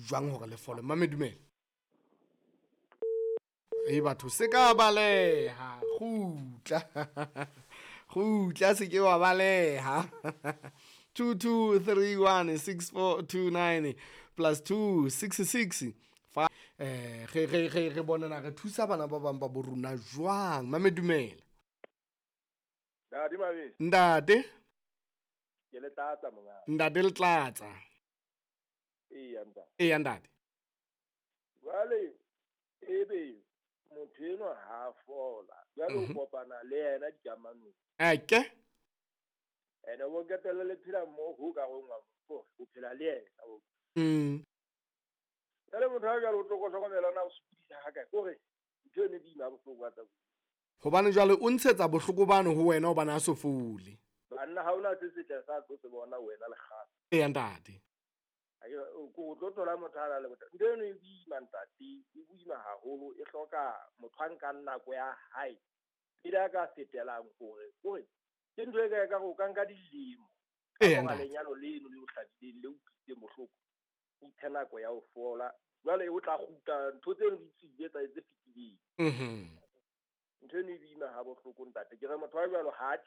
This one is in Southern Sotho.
jwang hore le fole. Mame dumela. E batho se ka baleha, kgutla. Kgutla se ke wa baleha. 22316429 plus 266 fa re bonana re thusa bana ba bang ba bo rona jwang. Mame dumela. Ntate Mabese. Ntate. Ke le tlatsa monga. Ntate le tlatsa. Eya ntate. Eya ntate. Jwale ebe motho enwa ha fola. Jwale o kopana le yena dikamanong. Eke. Ene o qetelle le phela mmoho ho ka rongwa o phela le yena. Jwale motho ha jwale o tlo hlokomela na o sokodisa ha kae. Kore ntho eno e boima bohloko tsa. Hobane jwale o ntshetsa bohloko bano ho wena hobane a so fole. Banna ha ona se setle sa tlo se bona wena le kgale. Eya ntate. O tlo thola motho a na le bothata. Ntho eno e boima ntate, e boima haholo, e hloka motho a nkang nako ya hae. Pele a ka fetelang hore kore ke ntho e ka ka go ka nka dilemo. Eya ntate. Lenyalo leno le o hlabileng le utlwisitseng bohloko. O iphe nako ya ho fola. Jwale o tla kgutla ntho tseno di tswile tsa tse fetileng. Ntho eno e boima ha bohloko ntate. Ke re motho wa jwalo ha